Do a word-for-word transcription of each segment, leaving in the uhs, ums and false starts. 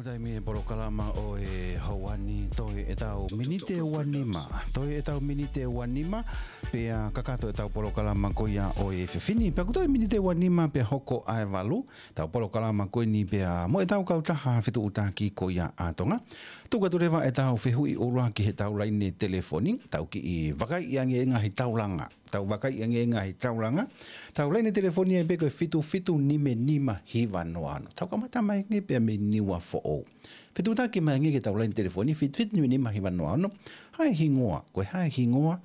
Taimi e polokalama ʻo e houa ni, toe ʻetau miniti ʻe ua nima. Toe ʻetau miniti ʻe ua nima, pea kakato ʻetau polokalama ko ia ʻo e efiafi ni. Pea kuo toe miniti ʻe ua nima pea hoko ʻa e valu, ʻetau polokalama ko eni pea mo ʻetau kautaha fetuʻutaki ko ia ʻa Tonga. Tuku atu leva ʻetau fehuʻi ʻuluaki heʻetau laine telefoni, tau kiʻi vakaiʻi ange e ngaahi taulanga. Tau vakaiʻi ange e ngaahi taulanga. ʻEtau laine telefoni ia pē ko e fitu fitu nima nima hiva noa ono. Tau kamata mai ange pea mei Niuafoʻou. Fetuʻutaki mai ange ki heʻetau laine telefoni, fitu fitu nima nima hiva noa ono. Hā e hingoa, ko e hā e hingoa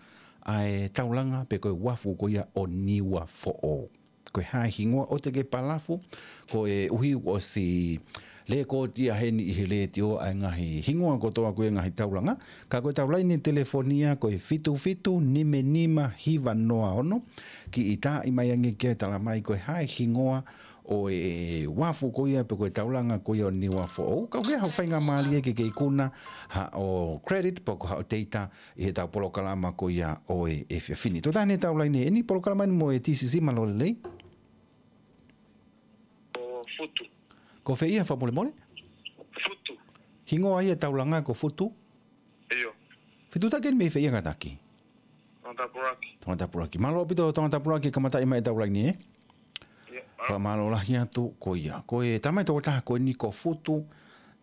ʻa e taulanga pe ko e uafu ko ia ʻo Niuafoʻou. Ko e hā e hingoa, ʻoua te ke palafu, koeʻuhi kuo ʻosi lēkooti ia heni ʻi he letiō ʻa e ngaahi hingoa kotoa ko ia e ngaahi taulanga. Ka ko ʻetau laine telefoni ia ko e fitu fitu nima nima hiva noa ono. Kiʻi taaʻi mai ange ke tala mai ko e hā e hingoa ʻo e uafu ko ia pe ko e taulanga ko ia ʻo Niuafoʻou. Ka ʻoku ʻi ai haʻo faingamālie ke ke ikuna haʻo credit pe ko haʻo teita ʻi heʻetau polokalama ko ia ʻo e efiafi ni. Tō taha eni ʻetau laine ʻeni, polokalama eni mo e T C C, mālō e lelei. Ko Futu. Ko fē ia, fakamolemole? Futu. Hingoa ia e taulanga ko Futu? ʻIo. Fetuʻutaki eni mei fē ia kātaki? Tongatapu ʻuluaki. Tongatapu ʻuluaki. Mālō ʻaupito Tongatapu ʻuluaki, kamataʻi mai ʻetau laine, ē? ʻIo. Fakamālō lahi atu ko ia. Ko e tama e tokotaha ko eni ko Futu.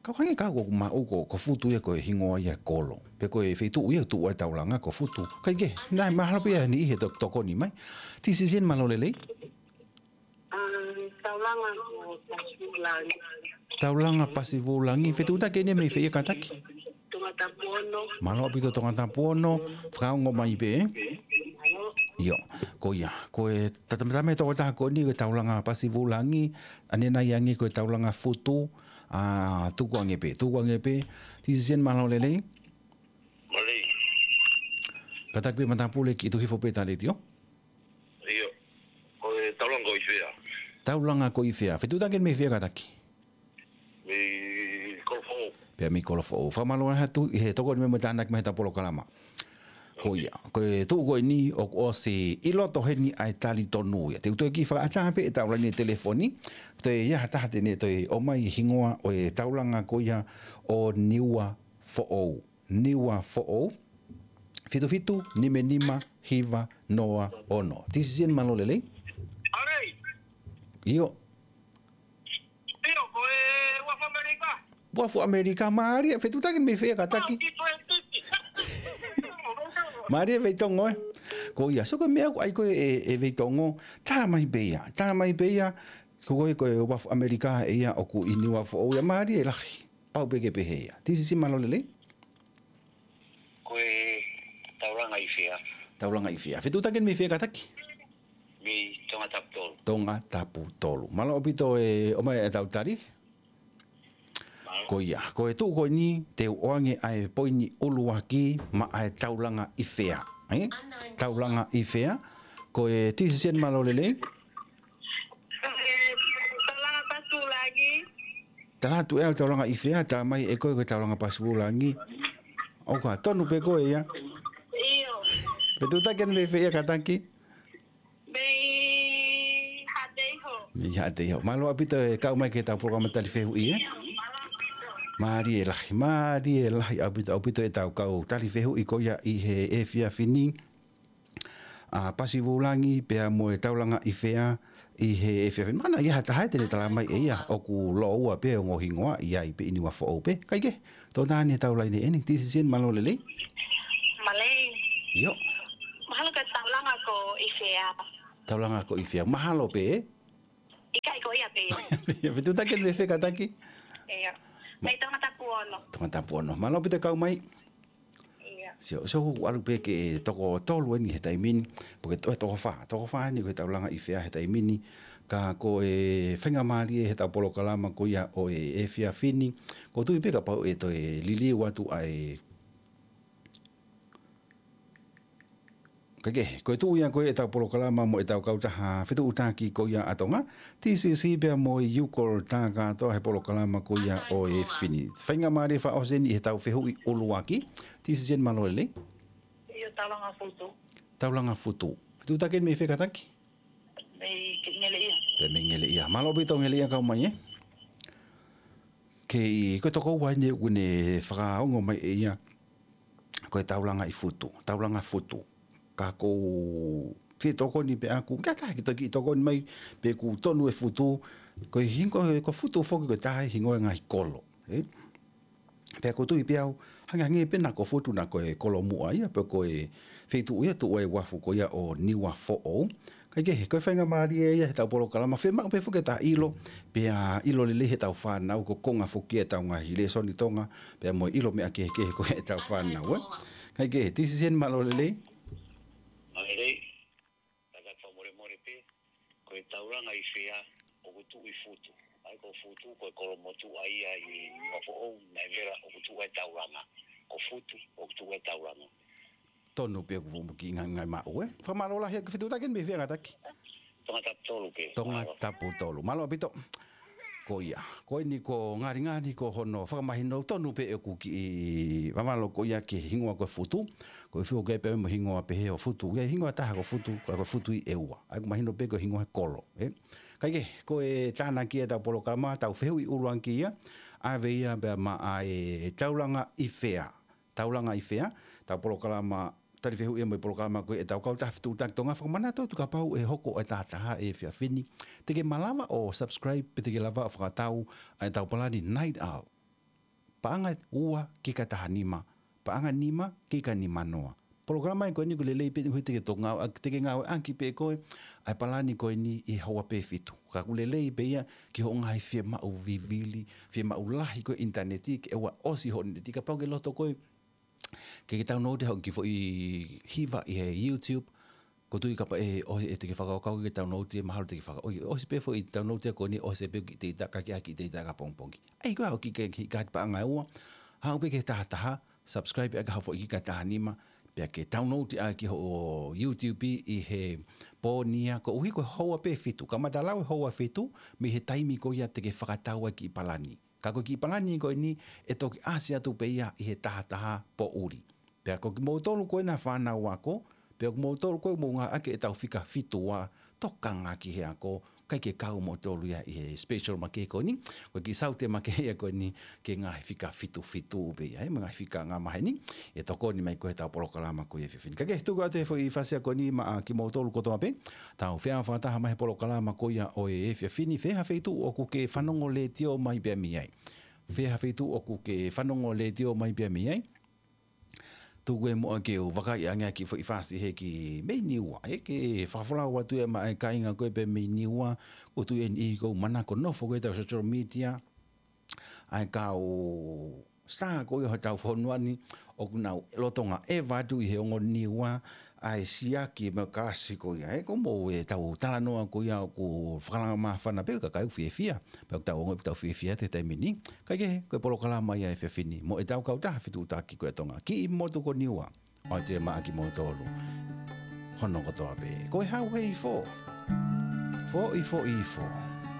Kau hangē ka ʻoku maʻu ko, ko Futu ia ko e hingoa ia e kolo. Pe ko e feituʻu ia ʻoku tuʻu ai e taulanga ko Futu. Kae kehe, naʻe mahalo pē ia e niʻihi ʻe to-, tokoni mai. T C C eni, mālō e lelei. Um, taulanga ko Pasivulangi. Taulanga Pasivulangi. Fetuʻutaki eni mei fē ia kātaki? Tongatapu ono. Mālō ʻaupito Tongatapu ono, fakaongo mai pē, ē? ʻIo, ko ia. Ko e ta-, tama e tokotaha ko eni ko e taulanga Pasivulangi, ʻanenai ange ko e taulanga Futu, ʻa, tuku ange pē, tuku ange pē. T C C eni, mālō e lelei. Mālō. Kātaki pē matapule, kiʻi tuku hifo pē ʻeta letiō. ʻIo. Ko e taulanga ko ʻIfea. Taulanga ko ʻIfea. Fetuʻutaki eni mei fē ia kātaki? Mei Kolofoʻou. Pea mei Kolofoʻou. Fakamālō lahi atu ʻi he tokoni mai mo e tānaki mai heʻetau polokalama. Ko ia. Ko e tuʻu ko eni ʻoku ʻosi ʻi loto heni ʻa e talitonu ia. Te u toe kiʻi fakaʻatā pē ʻetau laine telefoni. Toe ʻi ai ha taha te ne toe ʻomai e hingoa ʻo e taulanga ko ia ʻo Niuafoʻou. Niuafoʻou. Fitu fitu nima nima hiva noa ono. T C C eni, mālō e lelei. ʻAlei. ʻIo. ʻIo, ko e uafu ʻAmelika. Uafu ʻAmelika, mālie, fetuʻutaki eni mei fē ia kātaki? Au ki twenty. Mālie Veitongo, ē. Ko ia, so ko e meʻa ʻoku ʻai ko ē ʻe, ʻe Veitongo, tā mai pē ia, tā mai pē ia, ko koe ko e uafu ʻAmelika ʻe ia ʻoku ʻi Niuafoʻou ia, mālie lahi, pau pē ke pehē ia. T C C, mālō e lelei. Ko e taulanga ʻIfea. Taulanga ʻIfea. Fetuʻutaki eni mei fē ia kātaki? Mei Tongatapu tolu. Tongatapu tolu. Mālō ʻaupito e ʻomai ʻetau tali. Mālō. Ko ia. Ko e tuʻu ko eni, te u ʻoange ʻa e poini ʻuluaki maʻa e taulanga ʻIfea. Ē? Taulanga ʻIfea. Ko e T C C eni, mālō e lelei. Taulanga Pasivulangi. Tala atu ʻe au taulanga ʻIfea, tā mai ʻe koe ko e taulanga Pasivulangi. ʻOku tonu pē koe ia. ʻIo. Fetuʻutaki eni mei fē ia kātaki? Mei Haʻateiho. Mei Haʻateiho. Mālō ʻaupito e kau mai ki heʻetau polokalama tali fehuʻi, ē? Mālō ʻaupito. Mālie lahi, mālie lahi ʻaupito, ʻaupito ʻetau kau tali fehuʻi ko ia ʻi he efiafi ni. ʻA Pasivulangi pea mo e taulanga ʻIfea ʻi he efiafi ni. Mahalo naʻe ʻi ai ha taha ia te ne tala mai ʻe ia ʻoku lōua pē ongo hingoa ʻi ai pē ʻi Niuafoʻou pē. Kae kehe, tō taha eni ʻetau laine ʻeni. T C C eni, mālō e lelei. Mālō. ʻIo. Mahalo ko e taulanga ko ʻIfea. Taulanga ko ʻIfea. Mahalo pē, ē? ʻIkai, ko ia pē ia. Fetuʻutaki eni mei fē ia kātaki? ʻIo. Mei Tongatapu ono. Tongatapu ono. Mālō ʻaupito e kau mai. ʻIo. Sio, sio, ʻoku ʻalu pē ke toko tolu eni he taimi ni, pe ko e to-, toko fā, toko fā eni ko e taulanga ʻIfea he taimi ni, ka ko e faingamālie heʻetau polokalama ko ia ʻo e efiafi ni, ʻoku ou tui pē kapau ʻe toe liliu atu ʻa e Kae kehe, ko e tuʻu ia ko ē ʻetau polokalama mo ʻetau kautaha fetuʻutaki ko ia ʻa Tonga, T C C pea mo e Iukol Takatoa he polokalama ko ia ʻo e efiafi ni. Faingamālie fakaʻosi eni ʻi heʻetau fehuʻi ʻuluaki, T C C eni, mālō e lelei. ʻIo, taulanga Futu. Taulanga Futu. Fetuʻutaki eni mei fē ia kātaki? Mei Ngeleʻia. Pea mei Ngeleʻia. Mālō ʻaupito Ngeleʻia kau mai, ē? ʻE, ko e tokoua eni ʻoku ne fakaongo mai ʻe ia, ko e taulanga ʻi Futu, taulanga Futu. Ka ʻoku ou fie tokoni pē ʻaku, ka taha ki toki tokoni mai, pe ʻoku tonu e Futu, ko e hingoa, ko Futu foki ko e taha e hingoa e ngaahi kolo, ē? Pea ʻoku ou tui pē au, hangehangē pē naʻa ko Futu naʻa ko e kolo muʻa ia, pe ko e feituʻu ia tuʻu ai e uafu ko ia ʻo Niuafoʻou. Kae kehe, ko e faingamālie ia heʻetau polokalama, fiemaʻu pē foki ke ta ʻilo, pea ʻilo lelei heʻetau fānau, ko e konga foki ia ʻetau ngaahi lēsoni Tonga, pea mo e ʻilo meʻa kehekehe ko ia ʻetau fānau, ē? Kae kehe, Tisiseni, mālō lelei. Mālō lelei. Tangata fakamolemole pē, ko e taulanga ʻi fē ʻoku tuʻu ʻi Futu? ʻA ia ko Futu, ko e kolo motuʻa ia ʻi Niuafoʻou, naʻe vela ʻoku tuʻu ai e taulanga. Ko Futu, ʻoku tuʻu ai e taulanga. Tonu pē ʻoku fuʻu muki ngai, ngai maʻu, ē? Fakamālō lahi ʻaku fetuʻutaki mei fē, Ngataki? Tongatapu tolu pē. Tongatapu tolu. Mālō ʻaupito. Ko ia. Ko eni ko Ngalingali ko hono fakamahino, tonu pē ʻeku kiʻi Vavalo ko ia ki he hingoa ko e Futu. Ko e fiu ke pē mo e hingoa pehē ʻo Futu. ʻIo, hingoa taha ko Futu, ko e Futu ʻi ʻEua. ʻA ia ʻoku mahino pē ko e hingoa he kolo, ē? Kae kehe, ko e tānaki ʻetau polokalama, tau fehuʻi ʻuluaki ia, ʻave ia pea maʻa e taulanga ʻi fē. Taulanga ʻi fē, ʻetau polokalama, tali fehuʻi ia mo e polokalama ko ia ʻetau kautaha fetuʻutaki Tonga. Fakamanatu atu kapau ʻe hoko e tahataha he efiafi ni, te ke malava ʻo subscribe, pe te ke lava ʻo fakatau ʻa ʻetau palani Night Owl. Paʻanga ua ki he taha nima, paʻanga nima ki he nima noa. Polokalama ia ko eni ʻoku lelei pē ʻi he te ke toki ngāueʻaki, te ke ngāueʻaki pē ʻe koe ʻa e palani ko eni ʻi he houa pē fitu. Ka ʻoku lelei pē ia ki hoʻo ngaahi fiemaʻu vivili, fiemaʻu lahi ko e ʻinitaneti, ke ʻoua ʻosi hoʻo ʻinitaneti, kapau ʻoku ke loto koe ke ke download hoʻo kiʻi foʻi hiva ʻi he YouTube, ʻoku ou tui kapau ʻe, ʻo, ʻe te ke fakakaukau ke download ia, mahalo te ke faka-, ʻo, ʻosi pē foʻi download ia ko eni, ʻosi pē kiʻi data, ka ke ʻai kiʻi data ka pongipongi. ʻAi ko ā hoʻo kiʻi, kiʻi, kiʻi kaati paʻanga ʻe ua, haʻu pē ki he tahataha, subscribe ʻaki haʻo foʻi kiʻi kaati taha nima, pea ke download ʻaki hoʻo YouTube ʻi he pō ni ia, koeʻuhi ko e houa pē fitu. Kamata lau e houa fitu, mei he taimi ko ia te ke fakatau ai e kiʻi palani. Ka ko e kiʻi palani ko eni ʻe toki ʻasi atu pē ia ʻi he tahataha poʻuli. Pea ko kimoutolu ko ena fānau ako, pea ko kimoutolu ko ē ʻoku mou ngāueʻaki ʻetau fika fitu ua, tokanga ki he ako, ʻikai ke kau moutolu ia ʻi he special makehe ko eni, ko e kiʻi saute makehe ia ko eni, ki he ngaahi fika fitu fitu pē ia, ʻa e ngaahi fika ngā maheni, ʻe tokoni mai ko ē heʻetau polokalama ko ia he efiafi ni. Kae kehe, tuku atu e foʻi fasi ko eni maʻa kimoutolu kotoa pē, tau feʻao fakataha mai he polokalama ko ia ʻo e efiafi ni, fē ha feituʻu ʻoku ke fanongo letiō mai pē mei ai. Fē ha feituʻu ʻoku ke fanongo letiō mai pē mei ai. Tuku e muʻa ke u vakaiʻi ange ʻaki e foʻi fasi he ki mei Niua, ʻe ke fakafolau atu ia maʻa e kāinga ko ē pē mei Niua, ʻoku ou tui ʻe niʻihi ʻoku manako nofo ko ē heʻetau social media, ʻa e kau star ko ia heʻetau fonua ni, ʻoku nau lolotonga ʻeva atu ʻi he ongo Niua, ʻa e siaki mo e kasi ko ia, ē, ko e moʻoni ʻetau talanoa ko ia ʻoku fakalanga māfana pē, ka ʻoku fiefia, pea ʻoku tau ongoʻi ʻoku tau fiefia he taimi ni. Kae kehe, ko e polokalama ia he efiafi ni, mo ʻetau kautaha fetuʻutaki ko ia ʻa Tonga, kiʻi motu ko Niua. ʻOatu ia maʻa kimoutolu hono kotoa pē. Ko e Hau he Ifo. Foʻi, foʻi, ifo.